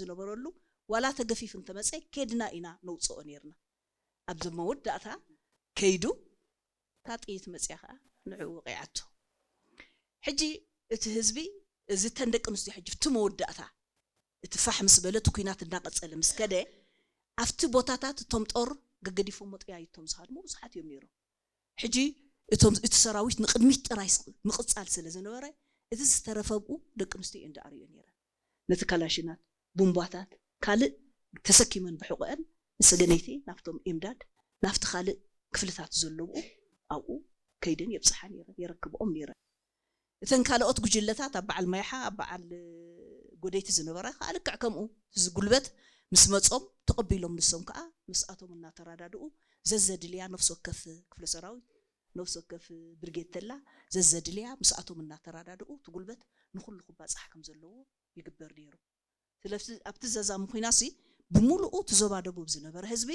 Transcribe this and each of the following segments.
ዝነበረሉ ዋላ ተገፊፍ እንተመፀ ኬድና ኢና ነውፅኦ ነይርና። ኣብዚ መወዳእታ ከይዱ እታ ጥይት መፅያ ከዓ ንዕኡ ወቂዓቶ። ሕጂ እቲ ህዝቢ እዚ እተን ደቂ ኣንስትዮ ሕጂ እቲ መወዳእታ እቲ ፋሕ ምስ በለ እቲ ኩናት እናቐፀለ ምስ ከደ ኣብቲ ቦታታት እቶም ጦር ገገዲፎሞ ጥያይቶም ዝሃድሙ ብዙሓት እዮም ነይሮም። ሕጂ እቶም እቲ ሰራዊት ንቕድሚት ጥራይ ስ- ምቕፃል ስለ ዝነበረ እቲ ዝተረፈ ብኡ ደቂ ኣንስትዮ እየን ዝኣርዮ ነይረን። ነቲ ካላሽናት ቡምባታት ካልእ ተሰኪመን ብሕቖአን ንሰገነይቲ ናብቶም ኤምዳድ ናብቲ ካልእ ክፍልታት ዘለብኡ ኣብኡ ከይደን የብፅሓ ነይረን የረክብኦም ነይረን። እተን ካልኦት ጉጅለታት ኣብ በዓል ማይሓ ኣብ በዓል ጎደይቲ ዝነበራ ከዓ ልክዕ ከምኡ እዚ ጉልበት ምስ መፆም ተቐቢሎም ንሶም ከዓ ምስኣቶም እናተረዳድኡ ዘዘድልያ ነፍሲ ወከፍ ክፍለ ሰራዊት ነፍሲ ወከፍ ብርጌድ ተላ ዘዘድልያ ምስኣቶም እናተረዳድኡ እቲ ጉልበት ንኩሉ ክባፃሕ ከም ዘለዎ ይግበር ነይሩ። ስለዚ ኣብቲ ዘዛሙ ኩናሲ ብምሉኡ እቲ ዞባ ደቡብ ዝነበረ ህዝቢ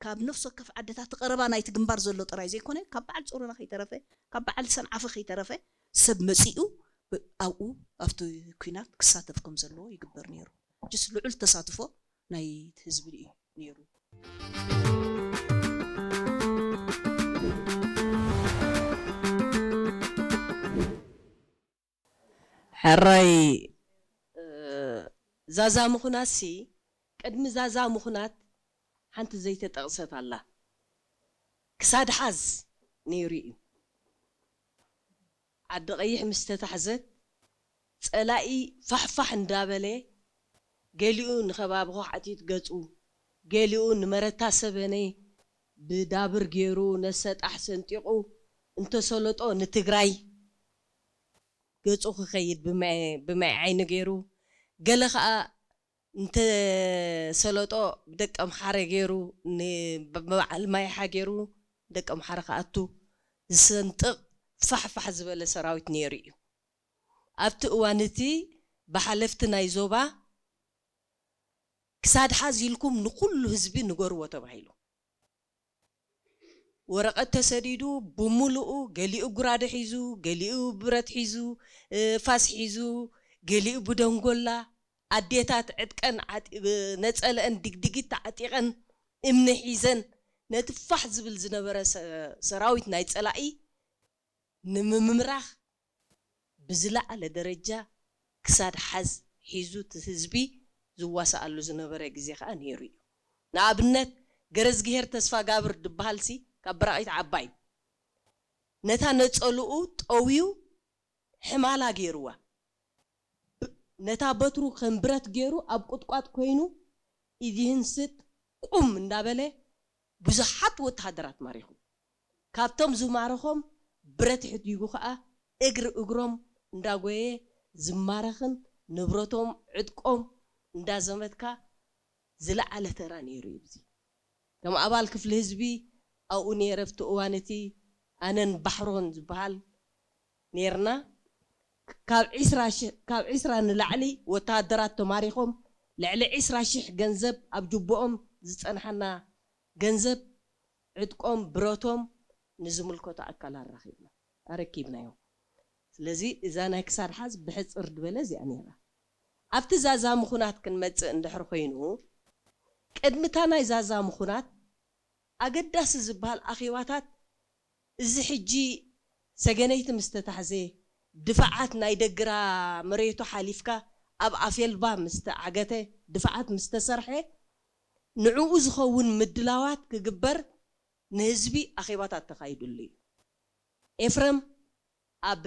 ካብ ነፍሲ ወከፍ ዓድታት እቲ ቀረባ ናይቲ ግንባር ዘሎ ጥራይ ዘይኮነ ካብ በዓል ጾሮና ከይተረፈ ካብ በዓል ሰንዓፈ ከይተረፈ ሰብ መጺኡ ኣብኡ ኣብቲ ኩናት ክሳተፍ ከም ዘለዎ ይግበር ነይሩ። ጅስ ልዑል ተሳትፎ ናይ ህዝቢ እዩ ነይሩ። ሕራይ ዛዛ ምኹናትሲ ቅድሚ ዛዛ ምኹናት ሓንቲ ዘይተጠቕሰት ኣላ። ክሳድ ሓዝ ነይሩ እዩ። ዓዲ ቀይሕ ምስ ተታሕዘት ጸላኢ ፋሕፋሕ እንዳበለ ገሊኡ ንኸባቢ ኳዕቲት ገጹ ገሊኡ ንመረታ ሰበነ ብዳብር ገይሩ ነሰጣሕ ሰንጢቑ እንተሰለጦ ንትግራይ ገጹ ክኸይድ ብማይ ዓይኒ ገይሩ፣ ገለ ኸኣ እንተ ሰለጦ ብደቂ ኣምሓረ ገይሩ፣ ንበዓል ማይሓ ገይሩ ደቂ ኣምሓረ ክኣቱ ዝሰንጥቕ ፋሕፋሕ ዝበለ ሰራዊት ነይሩ እዩ። ኣብቲ እዋን እቲ ብሓለፍቲ ናይ ዞባ ክሳድ ሓዝ ኢልኩም ንኹሉ ህዝቢ ንገርዎ ተባሂሉ። ወረቐት ተሰዲዱ ብምሉኡ፣ ገሊኡ ጉራደ ሒዙ፣ ገሊኡ ብረት ሒዙ፣ ፋስ ሒዙ፣ ገሊኡ ብደንጎላ፣ ኣዴታት ዕጥቀን ነፀለአን ድግድጊት ተዓጢቐን እምኒ ሒዘን ነቲ ፋሕ ዝብል ዝነበረ ሰራዊት ናይ ፀላኢ ንምምራኽ ብዝለዓለ ደረጃ ክሳድ ሓዝ ሒዙ እቲ ህዝቢ ዝዋሳኣሉ ዝነበረ ግዜ ከዓ ነይሩ እዩ። ንኣብነት ገረዝግሄር ተስፋጋብር ድበሃልሲ ካብ ብራቒት ዓባይ ነታ ነፀልኡ ጠውዩ ሕማላ ገይርዋ። ነታ በትሩ ከም ብረት ገይሩ ኣብ ቁጥቋጥ ኮይኑ ኢዚህን ስጥ ቁም እንዳበለ ብዙሓት ወተሃደራት ማሪኹ። ካብቶም ዝማረኾም ብረት ሕዲጉ ኸኣ እግሪ እግሮም እንዳጎየ ዝማረኽን ንብረቶም ዕጥቆም እንዳዘመትካ ዝለዓለ ተራ ነይሩ እዩ። እዚ ከም ኣባል ክፍሊ ህዝቢ ኣብኡ ነይረ ኣብቲ እዋን እቲ ኣነን ባሕሮን ዝበሃል ነይርና። ካብ ዒስራ ንላዕሊ ወተሃደራት ተማሪኾም ልዕሊ ዒስራ ሽሕ ገንዘብ ኣብ ጅቦኦም ዝፀንሓና ገንዘብ ዕጥቆም ብረቶም ንዝምልከቶ ኣካል ኣራኺብና ኣረኪብናዮም። ስለዚ እዛ ናይ ክሳድ ሓዝ ብሕፅር ዝበለ እዚኣ ነይራ። ኣብቲ ዛዛ ምኹናት ክንመፅእ እንድሕር ኮይኑ ቅድሚ እታ ናይ ዛዛ ምኹናት ኣገዳሲ ዝበሃል ኣኼባታት እዚ ሕጂ ሰገነይቲ ምስ ተታሕዘ ድፋዓት ናይ ደግራ መሬቱ ሓሊፍካ ኣብ ኣፌልባ ምስ ተዓገተ ድፋዓት ምስ ተሰርሐ ንዕኡ ዝኸውን ምድላዋት ክግበር ንህዝቢ ኣኼባታት ተኻይዱሉ እዩ። ኤፍረም ኣብ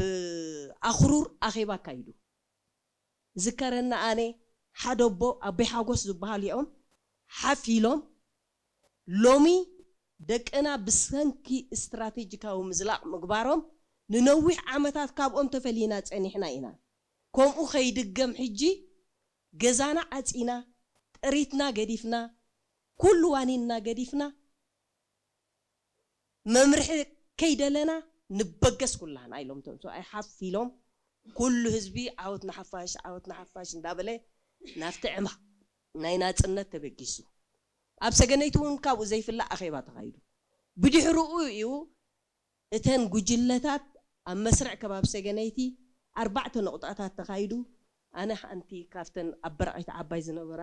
ኣኽሩር ኣኼባ ኣካይዱ። ዝከረኒ ኣነ ሓደ ኣቦ ኣቦይ ሓጎስ ዝበሃሉ እዮም ሓፍ ኢሎም ሎሚ ደቅና ብሰንኪ ስትራቴጂካዊ ምዝላቕ ምግባሮም ንነዊሕ ዓመታት ካብኦም ተፈሊና ጸኒሕና ኢና። ከምኡ ከይድገም ሕጂ ገዛና ዓጺና ጥሪትና ገዲፍና ኩሉ ዋኒንና ገዲፍና መምርሒ ከይደለና ንበገስ ኩላህና ኢሎም እቶም ሰብኣይ ሓፍ ኢሎም ኩሉ ህዝቢ ዓወት ንሓፋሽ ዓወት ንሓፋሽ እንዳበለ ናብቲ ዕማቕ ናይ ናፅነት ተበጊሱ። ኣብ ሰገነይቲ እውን ካብኡ ዘይፍላእ ኣኼባ ተኻይዱ። ብድሕርኡ እዩ እተን ጉጅለታት ኣብ መስርዕ ከባቢ ሰገነይቲ ኣርባዕተ ነቑጣታት ተኻይዱ። ኣነ ሓንቲ ካብተን ኣብ በርዓይት ዓባይ ዝነበራ